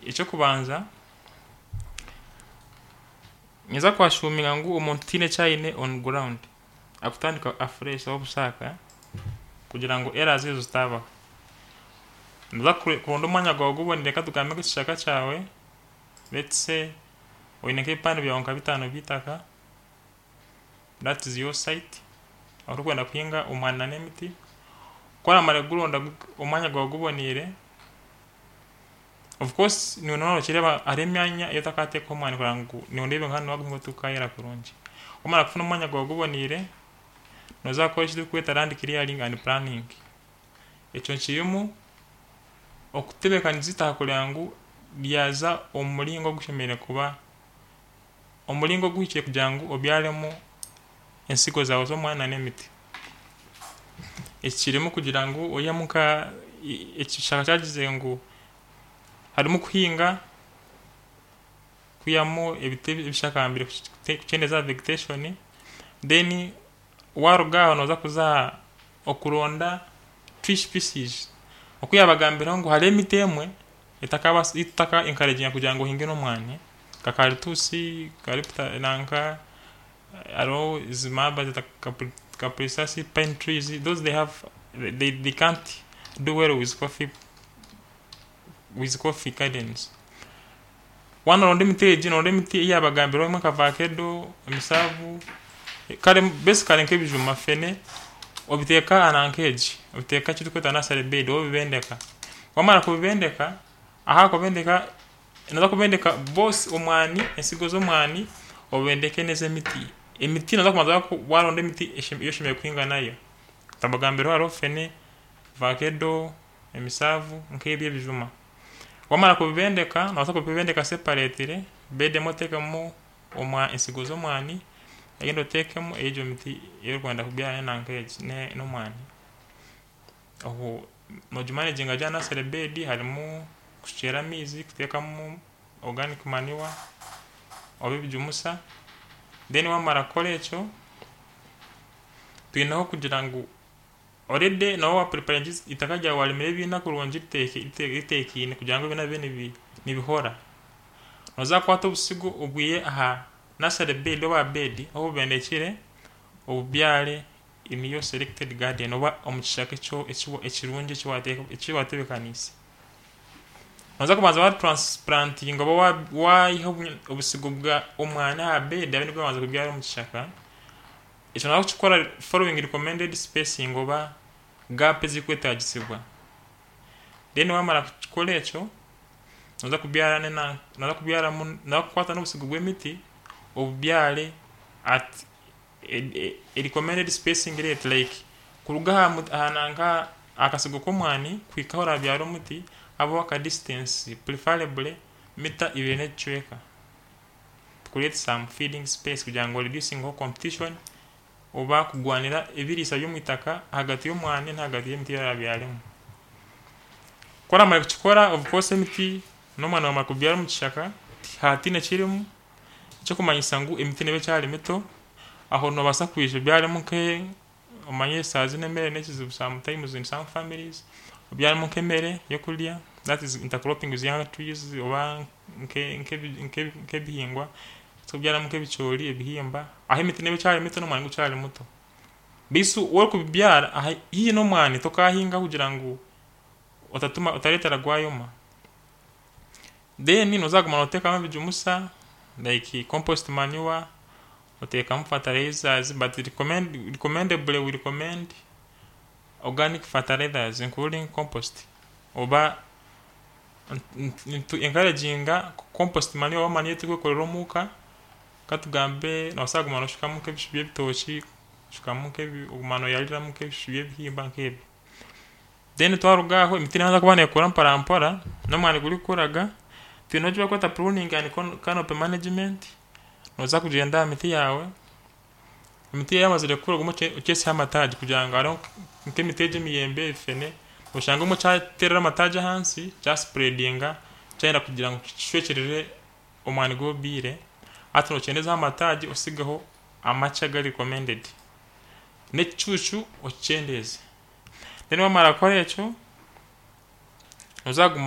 Eky'okubanza, ninza kwashuminga ngu omuntu tihaine eki aine on ground, akutandika afresh obusaaka kugira ngu errors ezo zitabaho. Noza kuronda omwanya gwawe guboniire, katugambe nk'ekishaka kyawe, let's say oine nk'ebipande byawe nka 5 by'eitaka, that is your site, orikwenda kuhinga omwani n'emiti. Ku oramara kuguronda omwanya gwawe guboniire, of course niiwe nooba nokireeba hariho emyanya ei otakateekaho omwani kureba ngu noreeba nka hanu waguhinga tigukayera kurungi. Wamara kufuna omwanya gwawe guboniire, noza kukora eki turikweta land clearing and planning. Ekyo kirimu okutebeekanisa eitaka kureba ngu ryaza omu muringo ogushemereire kuba omuringo oguhikire kugira ngu obyaremu ensigo zaawe z'omwani n'emiti. Eki kirimu kugira ngu oihemu nka ekishaka kyagizire ngu harimu kuhinga, kwihamu ebiti ebishakambire, kukyendeeza aha vegetation. Then waruga aho noza kuza aha okuronda tree species. Oku yabagambiraho ngu hariho emiti emwe etakabaasa ei tutaka encouraginga kugira ngu ohinge n'omwani, nka karituusi, nanka hariho ezi bazeta capricasi, pine trees, those they have they can't do well with coffee gardens. Wanoronda emiti egi, noronda emiti ei yabagambiraho emwe nka vakedo, emisaavu, kare basically nk'ebijuma, fene, obiteeka aha nanka egi, obiteeka eki turikweta nursery bed obibendeka. Wamara kubibendeka, aha kubendeka, noza kubendeka both omwani, ensigo z'omwani, obendeke n'ez'emiti. Emiti noza kubanza waronda emiti ei oshemereire kuhinga nayo. Nabagambiraho hariho fene, vakedo, emisaavu, nk'ebyo ebijuma. Wamara kubibendeka, nobaasa kubibendeka separately, bed emwe oteekemu ensigo z'omwani, eyindi oteekemu egyo miti ei orikwenda kubyara nanka egi n'omwani. Obwo nogimanaginga gye aha nursery bed, harimu kushukyera amaizi, kuteekamu organic manure oba ebijumusa. Then wamara kukora ekyo, twineho kugira ngu already nooba wapreparinga eitaka ryawe, warimire ebiina kurungi riteekaine kugira ngu ebiina bibe nibihora. Noza kukwata obusigo obwihe aha nursery bed oba aha bed ahu obubendekire, obubyare in your selected garden oba omu kishaka ekirungi eki watebeekaniise. Noza kubanza watransplantinga oba waiha obusigo bwa omwani aha bed, abe nibwo wabanza kubyara omu kishaka. Ekyo noza kukikora following recommended spacing oba gap ezirikwetaagisibwa. Then wamara kukikora ekyo, noza kubyara noza kubyaramu, noza kukwata n'obusigo bw'emiti obubyare at a recommended spacing rate, like kuruga aha nanka aha kasigo k'omwani kuhika ahu orabyara omuti habeho aka distance, preferably mita 2 n'ekicweka, to create some feeding space kugira ngu oreducingeho competition oba kugwanira ebiriisa by'omwitaka ahagati y'omwani n'ahagati y'emiti ei orabyaremu. Ku oramara kukikora, of course emiti n'omwani wamara kubyara omu kishaka hatiine ekirimu, ekirikumanyisa ngu emiti neeba ekyari mito, aho noobaasa kwija obyaremu nke omanye eshaaha zinu emere n'ekizibu sometimes in some families, obyaremu nk'emere y'okurya, that is intercropping with young trees, oba nk'ebihingwa, obyaremu nk'ebicoori, ebihimba, aho emiti neeba ekyari mito n'omwani gukyari muto. Bisu orikubibyara haihi n'omwani tokahinga kugira ngu otatuma otareetera gwayoma. Then noza kuguma nooteekamu ebijumusa like compost manure, oteekamu fertilizers, but recommendably we recommend organic fertilizers including compost, oba nitu encouraginga compost manure oba manure ei turikwekorera omuka. Katugambe noobaasa kuguma nooshukamu nk'ebishu by'ebitookye, oshukamu oguma nooyariramu nk'ebishu by'ebihimba nk'ebyo. Then twaruga aho, emiti neebanza kuba neekura mpora mpora n'omwani gurikukuraga, twineho eki barikweta pruning and canopy management. Nooza kugyenda aha miti yaawe, emiti yaamazire kukura, ogume okyeseho amataagi kugira ngu hariho nk'emiti egi emiyembe, ebifene, oshanga obumwe kyateerera amataagi ahansi kyaspreadinga, kyayenda kugira ngu kishwekyerere omwani gu obyire. Hati nokyendeezaho amataagi, osigeho amakye agari recommended n'ekicuucu okikyendeeze. Then wamara kukora ekyo, noza kuguma.